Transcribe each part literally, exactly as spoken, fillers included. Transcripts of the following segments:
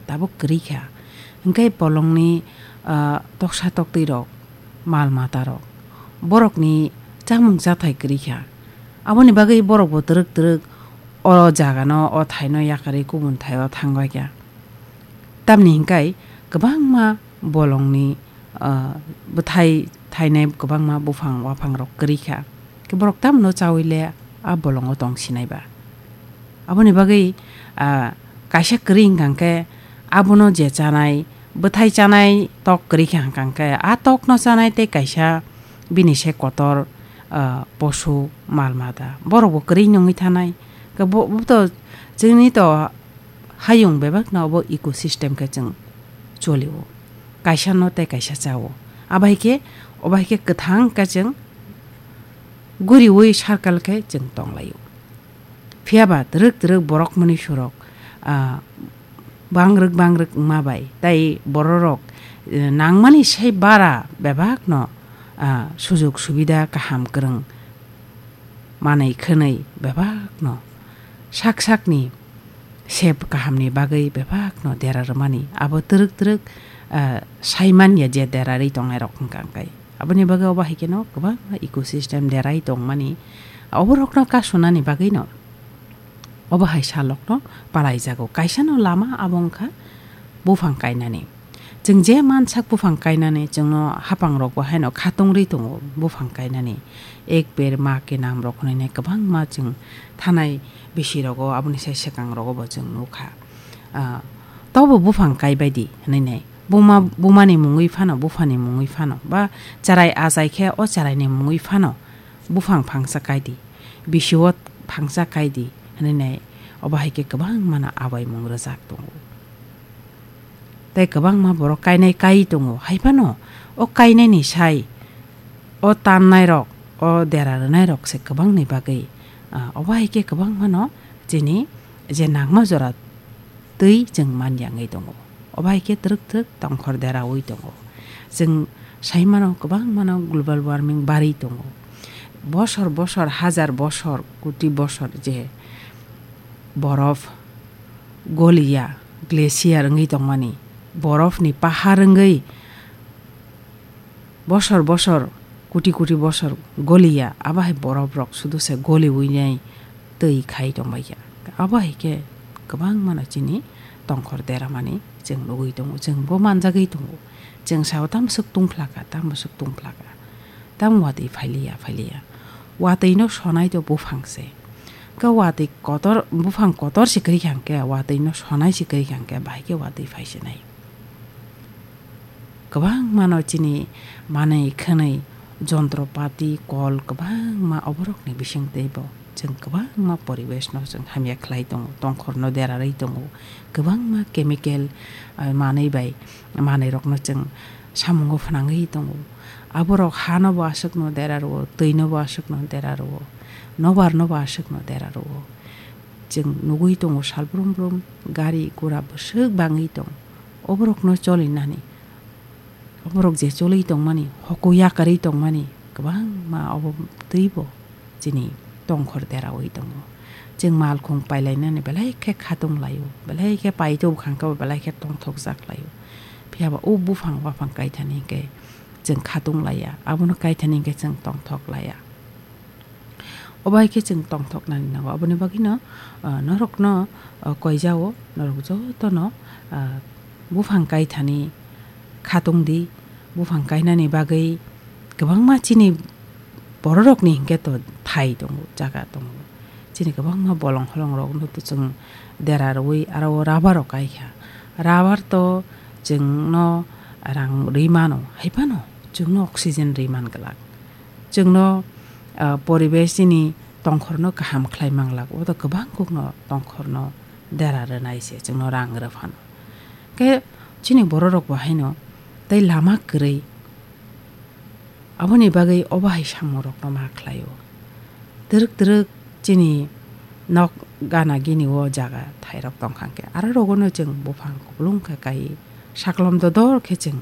tabuk kwrwi kha. Hwnkhe bolongni, ah, toksa toktwirok, mal matarok, borokni chamung chathai kwrwi kha. Aboni bagwi borokbo twrwk twrwk o jagano, o thaino yakarwi kubun thaio thangbai kha. Tamni hwnkhe kwbangma bolongni, ah, bwthai thainai kwbangma buphang waphangrok kwrwi kha. Khe borok tamno chaui le a bolongo tong sinai ba. Aboni bagwi, ah, kaisa kwrwi hwnkha khe abono je chanai, bwthai chanai tok kwrwi kha hwnkha khe a tokno chanai tei kaisa bini se kotor, ah, posu mal mata. Borokbo kwrwi nungwi thanai. Khe bo, bo to chwngni to hayung bebakno obo ecosystem khe chwng cholio. Kaisa no tei kaisa chao. Abai khe, obai khe kwthang khe chwng guriui circle khe chwng tonglaio. Phiya ba twrwk twrwk borok mani surok, ah, bangrwk bangrwk wngma bai. Tai bororok, eh, nangmani sai bara bebakno, ah, sujok subida kaham kwrwng manwi khwnwi bebakno sak sakni sep kahamni bagwi bebakno dera rwmani abo twrwk twrwk, ah, sai manya je derarwi tongnairok hwnkha hwnkhe. Aboni bagwi obo hai kheno kwbangma ecosystem derai tongmani oborokno kasunani bagwino obo hai salokno palaijago. Kaisano lama abo wngkha buphang kainani. Chwng je mansak buphang kainani, chwngno haphangrokbo haino khatungri tongo buphang kainani. Ek per ma ke nam rok hwnwi nai kwbangma chwng thanai bisirogo, aboni sai swkangrogo bo chwng nukha. Ah, tobo buphang kaibai di hwnwi nai. Buma, bumani mungwi phano, buphani mungwi phano, ba charai achai khe o charaini mungwi phano buphang phangsa kai di, bisi o phangsa kai di hwnwi nai. Obo hai khe kwbangmano abaimung rwjak tongo. Tei kwbangma borok kainai kai tongo. Hai phano o kainaini sai, o tannairok, o dera rwnairok se kwbangni bagwi, ah, obo hai khe kwbangmano chini je nangma jora twi chwng man yangwi tongo. Obo hai khe twrwk twrwk tongkhor deraui tongo. Chwng sai mano kwbangmano global warming barwi tongo. Bosor bosor, hajar bosor, koti bosor je borof goliya, glacier wngwi tongmani, borofni pahar wngwi bosor bosor, koti koti bosor goliya, abo hai borof rok sudu se goliui nai twi khai tongbai kha. Abo hai khe kwbangmano chini tongkhor deramani chwng nugui tongo, chwng bo manjagwi tongo. Chwng sao tamo swk tungphlaka, tamo swk tungphlaka. Tamo watwi phailiya, phailiya. Watwino sonai to buphang se. Khe watwi kotor, buphang kotor se kwrwi kha hwnkhe, watwino sonai se kwrwi kha hwnkhe, bahai khe watwi phai se nai. Kwbangmano chini manwi khwnwi jontropati, kol kwbangma oborokni bisingtwi bo chwng kwbangma poribeshno chwng hamya khlai tongo, tongkhorno derarwi tongo, kwbangma chemical, ah, manwi bai manwirokno chwng samungo phwnangwi tongo. Aborok hano bo aswkno dera rwo, twino bo aswkno dera rwo, nobar no bo aswkno dera rwo. Chwng nugui tongo sal brum brum gari gura bwswk bangwi tong. Oborokno cholinani, oborok je choli tongmani, hoko yakarwi tongmani kwbangma obo twibo chini tongkhor deraui tongo. Chwng malkhung pailainani belai khe khatung laio, belai khe paito bwkhang khe bo belai khe tongthokjak laio. Phiya ba o buphang waphang kaithani hwnkhe chwng khatung laiya, abono kaithani hwnkhe chwng tongthok laiya. Obo hai khe chwng tongthoknani nango. Aboni bagwino, ah, norokno, ah, koijao, norok jotono, ah, buphang kaithani khatung di, buphang kainani bagwi kwbangma chini bororokni hinkhe to thai tongo, jaga tongo. Chini kwbangma bolong holongrokno to chwng dera rwui aro o rubber rok kai kha. Rubber to chwngno rang rwi mano, hai phano chwngno oxygen rwi man glak. Chwngno, ah, poribesh chini tongkhorno kaham khlai manglak, o to kwbang kokno tongkhorno dera rwnai se, chwngno rang rw phano. Khe chini bororok bo haino tei lama kwrwi, aboni bagwi obo hai samungrokno ma khlaio. Twrwk twrwk chini nok gana gini o jaga thairok tongkha khe, aro rogono chwng buphang kupulung khe kai, saklom dodor khe chwng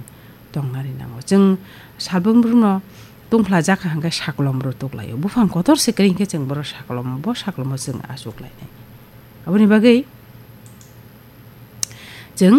tongnani nango. Chwng salbrum brumno tungphlajak kha hwnkhe saklom rw tuklaio. Buphang kotor se kwrwi hwnkhe chwng boro saklom, bo saklomo chwng achuk lainai. Aboni bagwi chwng